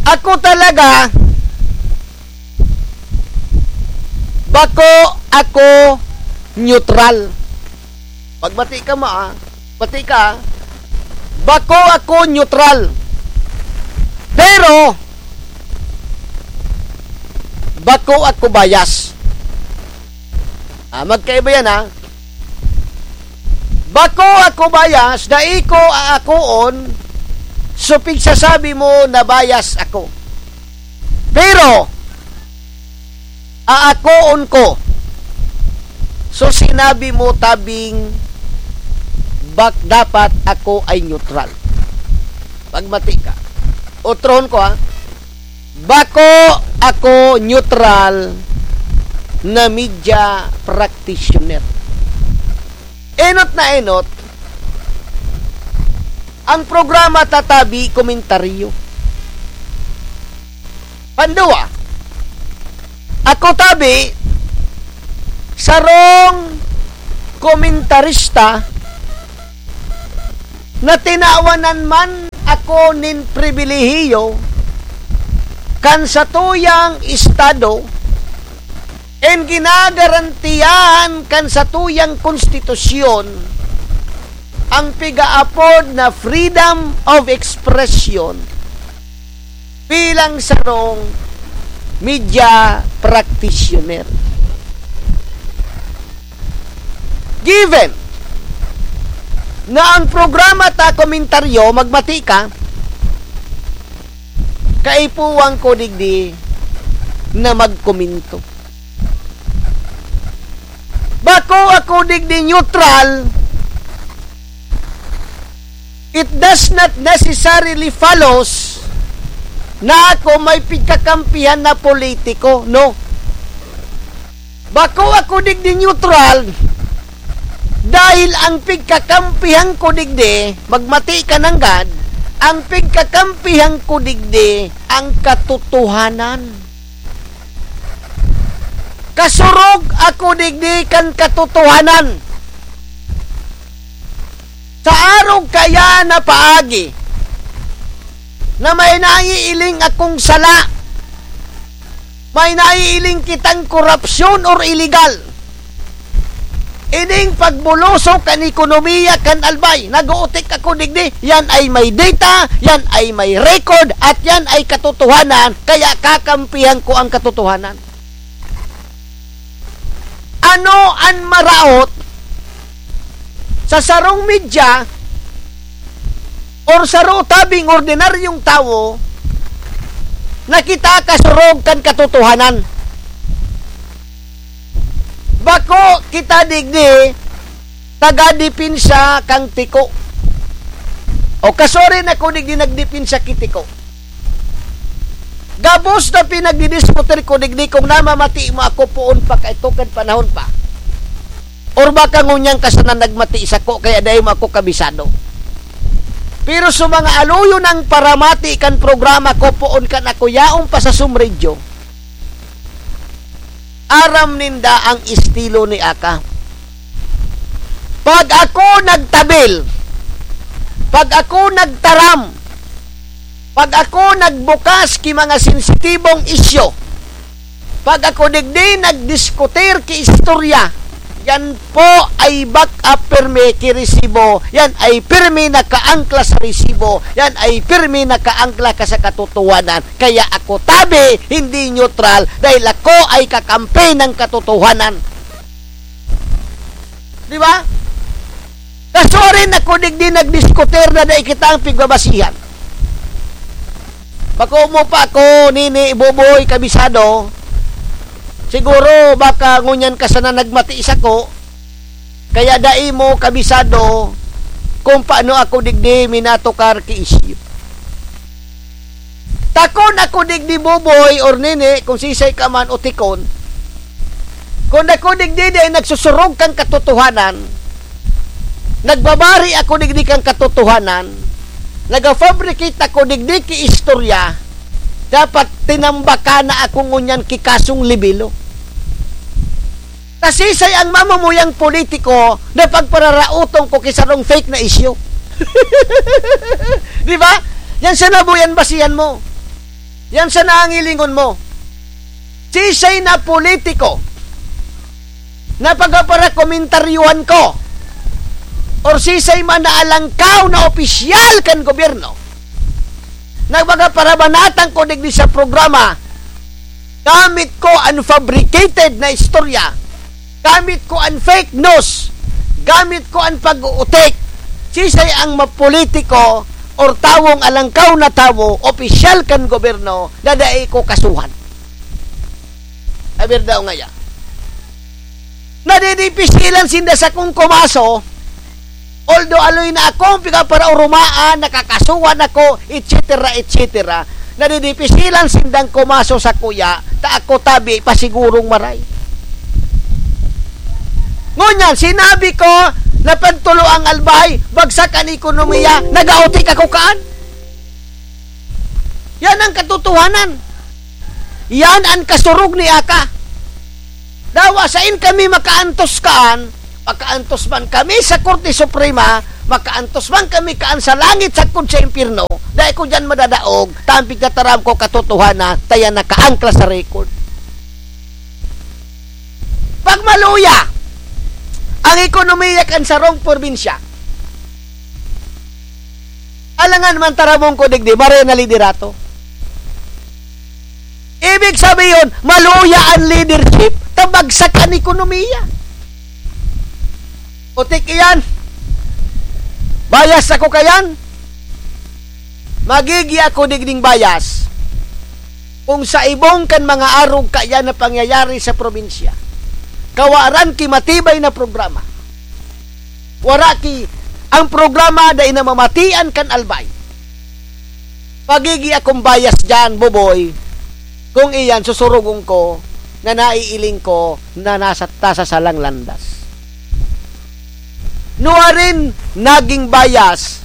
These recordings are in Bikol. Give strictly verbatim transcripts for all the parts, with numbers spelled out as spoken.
Ako talaga, bako ako neutral. Pagmati ka, ma-, ah. Mati ka, ah. Bako ako neutral. Pero, bako ako bias. Ah, magkaiba yan, ha? Bako ako bias, dai ko aakoon, so pigsasabi mo na bias ako. Pero, aakoon ko. So, sinabi mo, tabing, bak-, dapat ako ay neutral. Pagmati ka. Otrohon ko, ha? Bako ako neutral na media practitioner. Enot na enot, ang programa ta tabi komentaryo. Pandua, ako tabi, sarong komentarista na tinawanan man ako nin pribilehiyo kan satuyang estado, en ginagarantiyahan kan satuyang konstitusyon ang piga-apod na freedom of expression bilang sarong media practitioner. Given na ang programa ta komentaryo, magmati ka, kaipuhan ko digdi na magkomento. Bako ako digdi neutral, it does not necessarily follows na ako may pigkakampihan na politiko, no? Bako ako digdi neutral, dahil ang pigkakampihan ko digdi, magmati ka nanggad, ang pigkakampihan ko digdi, ang katotohanan. Kasurog ako digdi kan katotohanan. Sa arog kaya na paagi na may naiiling akong sala, may naiiling kitang korupsyon or iligal, ining pagbulusok kan ekonomiya kan Albay, nag-uutik ako digdi, yan ay may data, yan ay may record, at yan ay katotohanan, kaya kakampihan ko ang katotohanan. Ano an maraot sa sarong media or saro tabing ordinaryong tawo na kita kasurog kan katotohanan? Bako kita digdi taga-depensa kan tiko. O kasuarin ako digdi nagdepensa ki tiko. Gabos na pinagdidiskutir ko digdi kung namamati mo ako poon pa kaito kan panahon pa. Or baka ngunyan ka sana nagmati sako, kaya dai mo ako kabisado. Pero sa mga aluyon ang paramati kan programa ko poon kan ako yaon pa sa Sumredyo, aram ninda ang estilo ni Aka. Pag ako nagtabil, pag ako nagtaram, pag ako nagbukas ki mga sensitibong isyu, pag ako digdi nagdiskutir ki istorya, yan po ay back up pirmi ki resibo, yan ay pirmi nakaangkla sa resibo, yan ay pirmi nakaangkla ka sa katotohanan. Kaya ako tabi, hindi neutral, dahil ako ay kakampi ng katotohanan. Di ba? Kasuarin ako digdi nagdiskutir na dai kita ang pigbabasihan. Bako mo pa ako, Nini, Boboy, kabisado. Siguro, baka ngunyan ka sana nagmati sako, kaya dai mo kabisado kung paano ako digdi minatukar ki isyu. Takon ako digdi, Boboy or Nini, kung sisay ka man o tikon. Kung ako digdi, di ay nagsusurog kan katotohanan, nagbabari ako digdi kan katotohanan, nagafabricate ako digdi ki istorya, dapat tinambaka na ako ngunyan ki kasong libelo. Nasisay ang mamumuyang politiko na pagpararaoton ko ki sarong fake na isyu. Di ba? Yan sa nabuyan basihan mo. Yan sana ang hilingon mo. Sisay na politiko na pagpaparakomentaryuhan ko, or sisay man na alangkaw na opisyal kan gobyerno, na pagpaparabanatan ko digdi sa programa, gamit ko an fabricated na istorya, gamit ko an fake news, gamit ko an pag-uutik. Sisay ang mapolitiko or tawong alangkaw na tawo, opisyal kan gobyerno, na dai ko kasuhan? Aber daw ngaya. Nadidipisilan sinda sakong kumaso, although aloy na akong pigaparaorumaan, nakakasuhan ako, et cetera, et cetera. Nadidipisilan sindang kumaso sakuya, ta ako tabi, pasigurong maray. Ngunyan, sinabi ko na pagtulo ang Albay, bagsak an ekonomiya, nagautik ako kaan? Yan ang katotohanan. Yan ang kasurog ni Aka. Dawa, sain kami makaantos kaan, makaantos man kami sa Korte Suprema, makaantos man kami kaan sa langit sagkod sa impyerno, dai ko diyan madadaog, ta an pigtataram ko katotohanan, ta yan nakaangkla sa record. Pag maluya ang ekonomiya kan sarong probinsya, alangan man taramon ko digdi, maray na liderato. Ibig sabihin, maluya ang leadership, ta bagsak an ekonomiya. Utik iyan. Bias ako kayan. Magigi ako digding bias kung sa ibong kan mga arog kaiyan na pangyayari sa probinsya, kawaran ki matibay na programa. Wara ki, ang programa dai namamatian kan Albay. Magigi akong bias diyan, Boboy, kung iyan susurugon ko na naiiling ko na nasa, nasa salang landas. Nuarin naging bias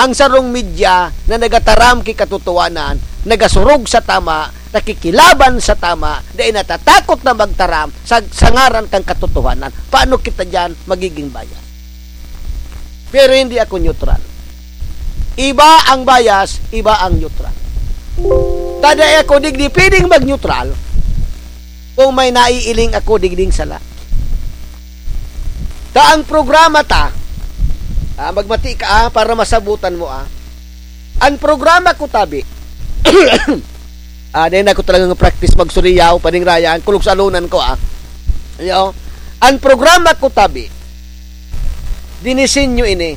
ang sarong media na nagataram ki katotohanan, nagasurog sa tama, nakikilaban sa tama, dai natatakot na magtaram sa, sa ngaran kan katotohanan. Paano kita diyan magiging bias? Pero hindi ako neutral. Iba ang bias, iba ang neutral. Ta dai ako digdi pwedeng mag-neutral kung may naiiling ako digding sala. Ta ang programa ta, ah, magmati ka, ah, para masabutan mo, ah. Ang programa ko tabi, ah, dai na ako talagang practice magsuriyaw, paningrayan, kulog sa alunan ko, ah. Yo, ang programa ko tabi, dinisenyo ini,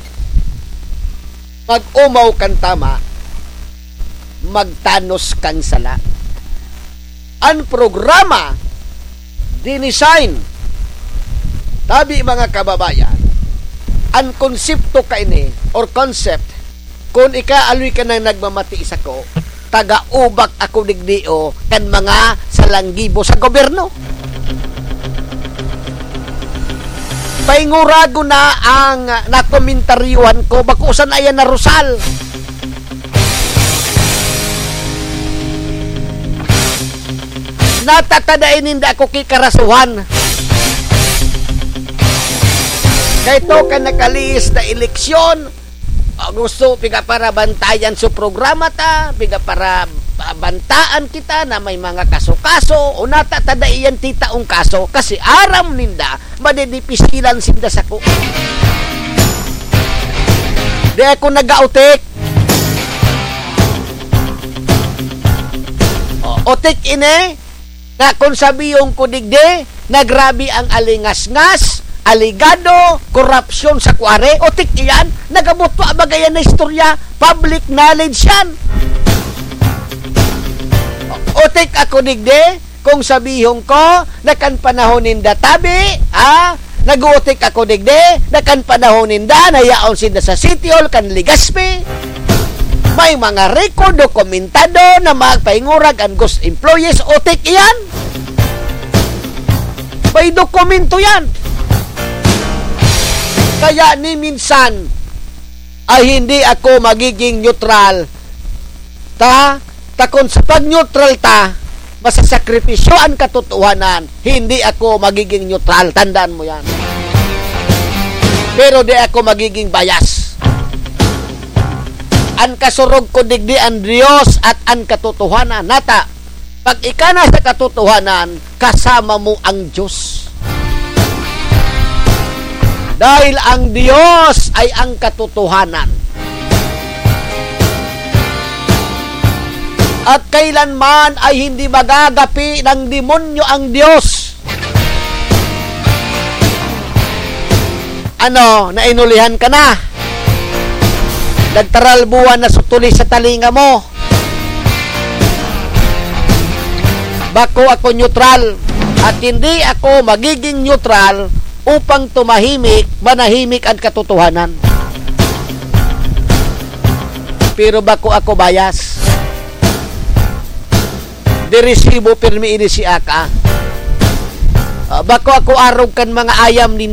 mag-omaw kan tama, magtanos kan sala. An programa, dinesign, tabi, mga kababayan, an konsepto kaini or concept, kun ika aloy ka nang nagmamati sako, taga-ubak ako digdi, o, kan mga salanggibo sa gobyerno. Painguragon na ang nakomentaryuhan ko, bako sana iyan narusal. Natatadain ninda ako ki karasuhan. Kay to kan nakalihis na eleksyon, ah, gusto pigaparabantayan sa programa ta, pigaparabantaan kita na may mga kaso-kaso, o natatadaian ti taong kaso, kasi aram ninda, madidipisilan sinda sako. Di ako nagautik. O, utik ini, na kung sabihon ko digdi, na grabe ang alingasngas, aligado, korupsyon sa kuware, utik iyan, nagabot pa baga yan na istorya, public knowledge yan. Utik ako digdi, kung sabihon ko, na kan panahon ninda tabi, ha? Nag-uutik ako digdi, na kan panahon ninda, na yaon sinda sa City Hall kan Legazpi. May mga record, dokumentado na magpaingurag an ghost employees, utik iyan. May dokumento yan. Kaya ni minsan, ay hindi ako magiging neutral. Ta, ta kun sa pag-neutral ta, masasakripisyo an katotohanan, hindi ako magiging neutral. Tandaan mo yan. Pero di ako magiging bias. An kasurog ko digdi an Dios at an katotohanan. Nata, pag ika na sa katotohanan, kasama mo ang Dios. Dahil ang Dios ay ang katotohanan. At kailanman ay hindi magagapi ng demonyo ang Dios. Ano, nainulihan ka na? Nagtaralbuan na sutuli sa talinga mo? Bako ako neutral, at hindi ako magiging neutral upang tumahimik, manahimik ang katotohanan. Pero bako ako bias. Deresibo, pirmi ini si Aka. Ah, bako ako arog kan mga ayam ni